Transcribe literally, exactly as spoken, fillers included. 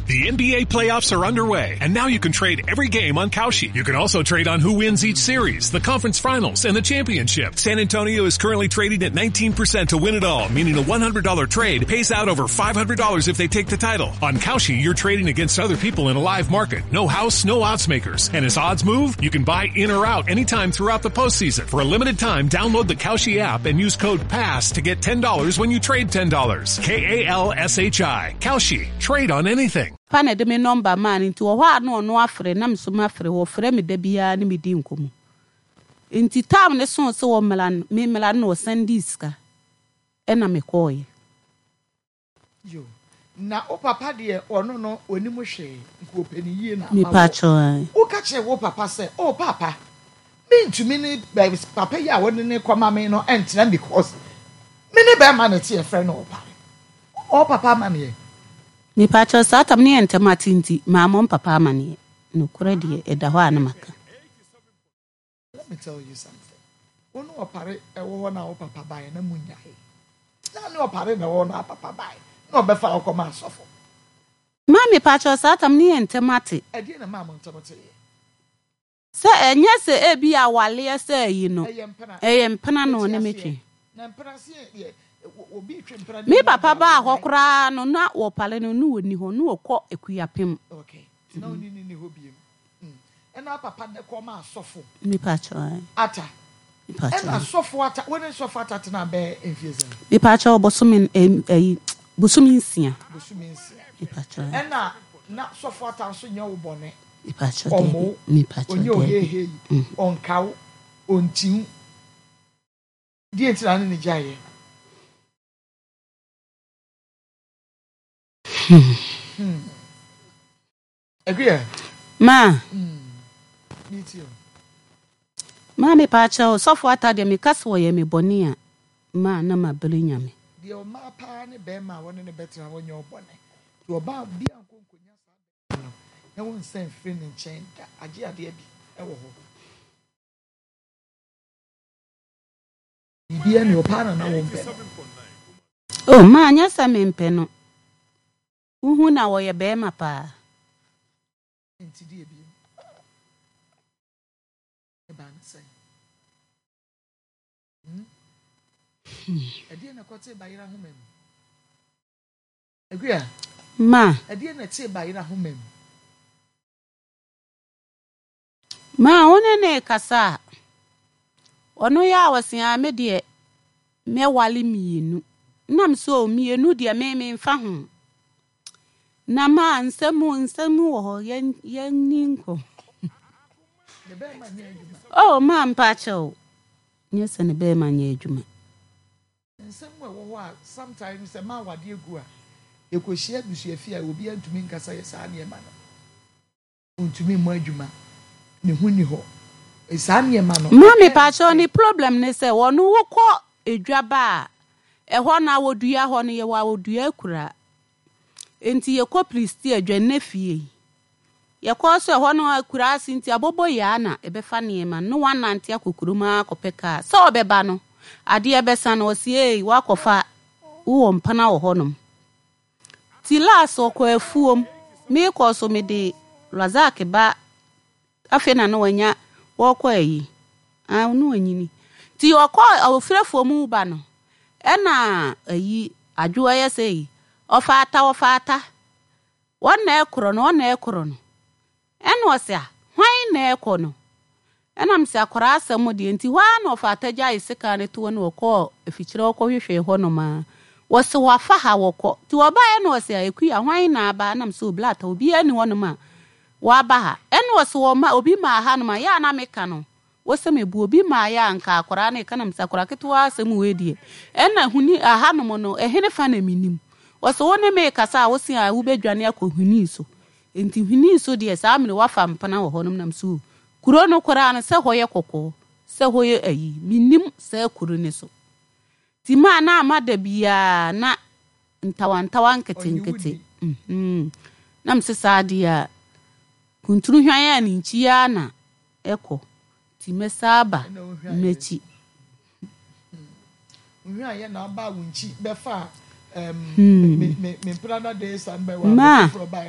The N B A playoffs are underway, and now you can trade every game on Kalshi. You can also trade on who wins each series, the conference finals, and the championship. San Antonio is currently trading at nineteen percent to win it all, meaning a one hundred dollar trade pays out over five hundred dollars if they take the title. On Kalshi, you're trading against other people in a live market. No house, no odds makers. And as odds move, you can buy in or out anytime throughout the postseason. For a limited time, download the Kalshi app and use code PASS to get ten dollars when you trade ten dollars. K A L S H I. Kalshi. Trade on anything. Pa na ɛde me number maa no, nti wɔ hɔ a na ɔno afrɛ na me so mafrɛ. Wɔfrɛ me da biara ne medi nkɔmmɔ, nti time ne so sɛ wɔmmra no, memmra no na ɔsan dii sika ɛna mekɔɔyɛ. Yo, na wo papa deɛ, ɔno no onim hwee nka ɔpɛ ne yie na ama Mepa wɔ. kyɛw. Woka kyerɛ wo papa sɛ, "O papa, mentumi ne bɛ- papa yi a wɔde ne kɔma me no ɛntena because me ne bɛrima ne te yɛfrɛ no Ɔpare"? Ɔ papa amaneɛ? Mepa kyɛw, saa tam ne yɛ ntɛm ate, nti maamɔ mpapa amanneɛ. Nokorɛ deɛ ɛda hɔ a na maka. Let me tell you something. Wo ne Ɔpare ɛwɔ hɔ na wo papa baeɛ na mu nyae na ne Ɔpare na ɛwɔ hɔ na papa baeɛ na ɔbɛfa wo kɔma asɔfo. Maa mepa kyɛw, saa tam ne yɛ ntɛm ate. Ɛdeɛ na maa mo ntɛm teeɛ? Sɛ ɛnyɛ sɛ ebi awaleɛ sɛ ayi no. Ɛyɛ mpena. Ɛyɛ mpena na ɔne me Ɛte aseɛ. twe. Na mpena se yɛ obi twe mpena ne Me mu papa agya baa hɔ wonyae. Koraa no na wɔpale no ne wɔni hɔ ne wɔkɔ Akuapem. Okay, nti na wone ne ni hɔ biem. Mm. Ɛna papa ne kɔma asɔfo Mepa kyɛw. Ata. Mepa Ɛna kyɛw. Sɔfo Ata, wo ne sɔfo Ata tena bɛɛ mfie sɛn? Mepa kyɛw, bosome ɛm, ɛyi, bosome nsia. Bosome nsia. Mepa kyɛw. Ɛna na sɔfo Ata nso nyɛ wo bɔne? Mepa kyɛw. Ɔmo Daabi. wo? Mepa kyɛw. Ɔnyɛ Daabi. oheehei, ɔnka wo, ɔntiw deɛ nti na ne ne gyaeɛ? Hmm. Akua. Ma. Metie o. Ma, mepa kyɛw, sɔfo Ata deɛ, meka sɛ wɔyɛ me bɔne a, ma na mabere Nyame. Deɛ ɔmaa paa ne bɛrima a wɔne ne bɛtena, wɔnyɛ ɔbɔne nti ɔbaa bi a nkɔnkɔnya saa bɛrima no na wɔnsa mfiri ne nkyɛn da, agye adeɛ bi ɛwɔ hɔ, biribiara ne ɔpaa na na wɔmpɛ no. O ma, nyɛ sɛ mempɛ no, wohu na wɔyɛ bɛrima paa. Nti deɛ bi ɛbaa ne sɛn? Hmm? Ɛdeɛ na ɛkɔtee bayerɛ ahoma mu, Akua? Ma. Ɛdeɛ na ɛtee bayerɛ ahoma mu? Ma, wo ne ne kasa a, ɔno yɛ a wɔse a me deɛ mɛwale mmienu nam so o, mmienu deɛ me memfa ho na ma nsɛm nsɛm wɔ hɔ, yɛn yɛnni nkɔ. Ne bɛrima nyɛ adwuma? O ma, mpakyɛw, nyɛ sɛ ne bɛrima nyɛ adwuma. Nsɛm mu ɛwɔ hɔ a sometimes sɛ maa wadeɛ gu a, yɛkɔhyia abusuafi a obiara ntumi nkasa yɛ saa nneɛma no, ntumi mmɔ adwuma, ne ho ni hɔ, saa nneɛma no. Ma, mepakyɛw, ne problem ne sɛ wɔno wokɔ edwa ba a, ɛhɔ na wɔdua hɔ no, yɛwɔ awodua akura, nti yɛkɔ Plisti adwa nnɛ fie, yɛkɔ so ɛhɔ no akura ase, nti abɔbɔ yaa na ɛbɛfa nneɛma no wanante akɔ kurom akɔpɛ kaa sɛ ɔbɛba no, adeɛ bɛsa no, ɔsi ei, wakɔfa wowɔ mpana wɔ hɔnom. Ti last ɔkɔ afuom, meekɔ so mede Razak ba, afei na na wanya wɔkɔ ayi ah no wanyini, nti ɔkɔ ɔfiri afuom ba no, ɛna ayi adwo ɛyɛ sɛ yi ɔfa Ata, ɔfa Ata, wɔn na ɛkorɔ no, wɔn na ɛkorɔ no, ɛna ɔsɛ a hwan na ɛkɔ no, ɛnam sɛ akwaraa asɛm deɛ, nti hɔ ara na ɔfa Ata gyae sika no toɔ no, ɔkɔɔ afikyerɛ ɔkɔhwehwɛ hɔnom a wɔsɛ wafa ha wɔkɔ, nti wɔbaeɛ na ɔsɛ a Ekuya, hwan na aba? Ɛnam sɛ oblata obiara ni hɔnom a waba ha, ɛna ɔsɛ wɔma obi maa hanom a yɛ a na meka no wɔsɛ mebu obi maa yɛ a nka akwaraa no ɛka nam sɛ akwaraa ketewa asɛm wei deɛ, ɛna huni ahanom no ɛhene fa na menim. Wɔsɛ wo ne me kasa a, wosi a wobɛdwane akɔ hwini so, nti hwini so deɛ, saa mmere wafa mpena wɔ hɔnom nam so kuro no koraa no sɛ hɔ yɛ kɔkɔɔ sɛ hɔ yɛ ayi, menim saa kuro ne so, nti maa na ama da biara na ntawantawa nketenkete mhm na mesɛ saa deɛ a kunturu hwan a ne nkyi ara na ɛkɔ, nti mɛsa aba Ɛna wohwɛ ayɛ. M'akyi. Nhwɛ ayɛ na aba wo nkyi bɛfa Hmm. me me me mpena na de san bɛ wɔ Ma. foforɔ baeɛ.